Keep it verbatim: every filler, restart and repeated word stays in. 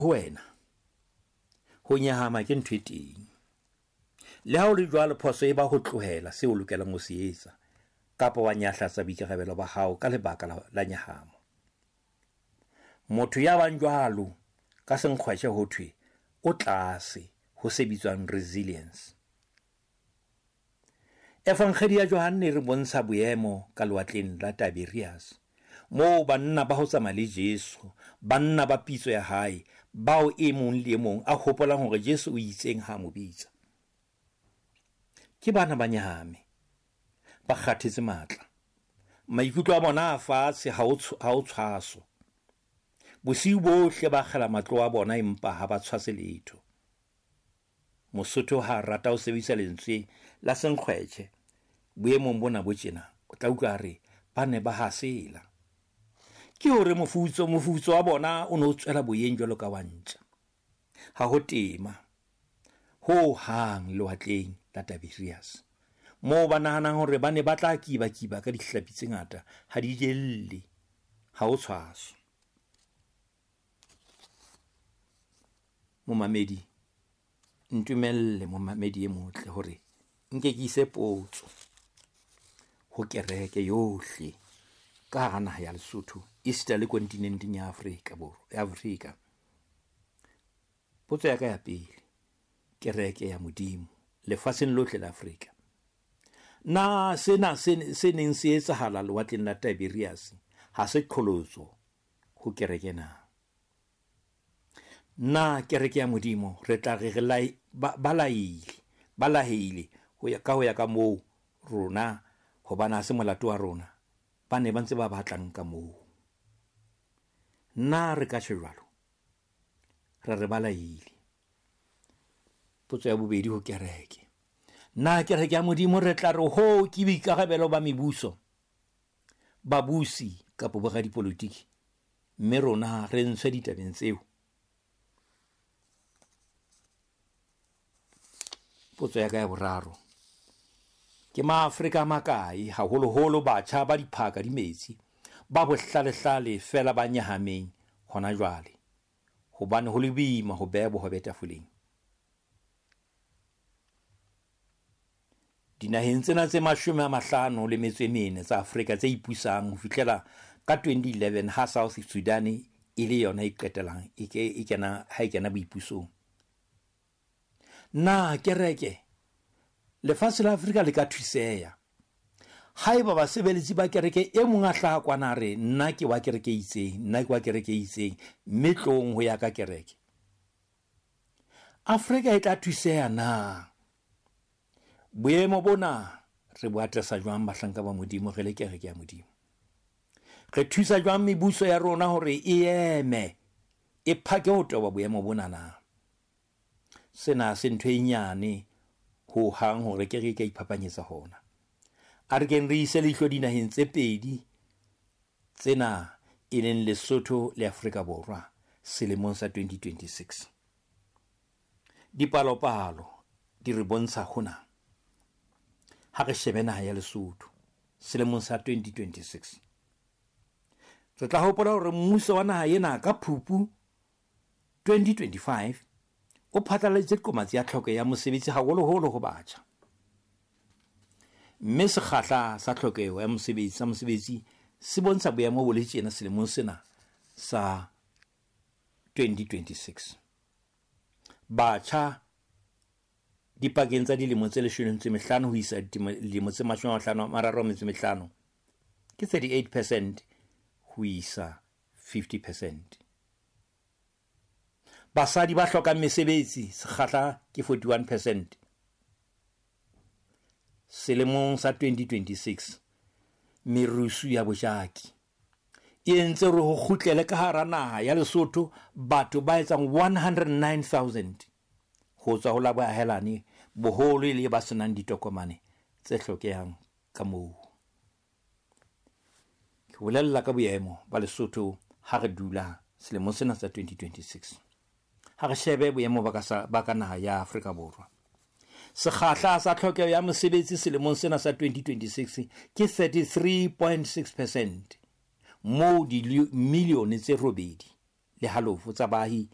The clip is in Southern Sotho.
Ho wena, ho nyahama ke ntho e teng. Le ha ho le jwalo, phoso e ba ho tlohela seo o lokelang ho se etsa kapa wa nyahlatsa boikarabelo ba hao ka lebaka la, la nyahamo. Motho ya bang jwalo ka senkgwetjhe ho thwe o tlase ho se bitswang resilience. Evangedi ya Johanne e re bontsha boemo ka lewatleng la Tiberias, moo banna ba ho tsamaya le Jesu, banna ba pitso ya hae, bao e mong le e mong a hopolang hore Jesu o itseng ha a mo bitsa. Ke bana ba nyahame, ba kgathetse matla. Maikutlo a bona a fatshe ha ho ha ho tshwaso. Bosiu bohle ba akgela matlo a bona empa ha ba tshwase letho. Mosotho ha a rata ho sebedisa lentswe la senkgwetjhe boemong bona bo tjena, o tla utlwa a re ba ne ba hasela. Ke hore mofutso mofutso wa bona o ne o tswela boyeng jwalo ka wa ntja. Ha ho tema ho hang lewatleng la Tiberias, moo ba nahanang hore ba ne ba tla kiba-kiba ka dihlapi tse ngata, ha di jelle, ha ho tshwaso. Momamedi, ntumelle momamedi e motle hore nke ke ise potso ho kereke yohle ka hara naha ya Lesotho, esita le kontinenteng ya Afrika Borwa, ya Afrika. Potso ya ka ya pele, kereke ya Modimo lefatsheng lohle la Afrika. Na sena se se neng se etsahala lewatleng la Tiberias ha se qholotso ho kereke na? Na kereke ya Modimo re tla re re lai, ba, ba laile, ba laheile ho ya ka ho ya ka moo rona, hobane ha se molato wa rona, ba ne ba ntse ba batlang ka moo. Na re ka tjho jwalo? Ra re ba laile. Potso ya bobedi ho kereke. Na kereke ya Modimo re tla re ho ke boikarabelo ba mebuso, babusi kapa boradipolotiki, mme rona re ntshwe ditabeng tseo? Potso ya ka ya boraro. Ke maAfrika a makae, haholoholo batjha ba diphaka di metsi, ba bohlalehlale feela ba nyahameng hona jwale, hobane ho le boima ho beha bohobe tafoleng. Dinaheng tsena tse mashome a mahlano le metso e mene tsa Afrika tse ipusang ho fihlela ka twenty eleven ha South Sudan e le yona e qetelang e ke, e kena, ha e kena boipusong. Na kereke lefatshe la Afrika le ka thuseha haeba basebeletsi ba kereke e mong a hlaha kwana a re nna ke wa kereke e itseng, nna ke wa kereke e itseng, mme tlong ho ya ka kereke? Afrika e tla thuseha na? Boemo bona re bo atlesa jwang bahlanka ba Modimo re le kereke ya Modimo? Re thusa jwang mebuso ya rona hore e eme, e phake ho toba boemo bona na? Sena se ntho e nyane ho hang hore kereke e ka iphapanyetsa hona. A re keng re ise leihlo dinaheng tse pedi tsena e leng Lesotho le Afrika Borwa selemong sa twenty twenty-six. Dipalopalo di re bontsha hona. Ha re shebe naha ya Lesotho selemong sa twenty twenty-six, re tla hopola hore mmuso wa naha ena ka Phupu twenty twenty-five o phatlaladitse qomatsi ya tlhoko ya mosebetsi haholoholo ho batjha. Mme sekgahla sa tlhokeho ya mosebetsi sa mosebetsi se bontsha boemo bo le tjena selemong sena sa twenty twenty-six. Batjha dipakeng tsa dilemo tse leshome le metso e mehlano ho isa dilemo tse mashome a mahlano a mararo a metso e mehlano ke thirty-eight percent ho isa fifty percent. Basadi ba hlokang mesebetsi sekgahla ke forty-one percent. Selemong sa twenty twenty-six merusu ya bojaki e entse hore ho kgutlele ka hara naha ya Lesotho batho ba etsang one hundred nine thousand ho tswa ho la boahelani, boholo e le ba senang ditokomane tse hlokehang ka moo. Ke bolella ka boemo ba Lesotho ha re dula selemong sena sa twenty twenty-six. Ha re shebe boemo ba ka sa, ba ka naha ya Afrika Borwa. Sekgahla sa tlhokeho ya mosebetsi selemong sena sa twenty twenty-six ke thirty-three point six percent, moo dimilione tse robedi le halofo tsa baahi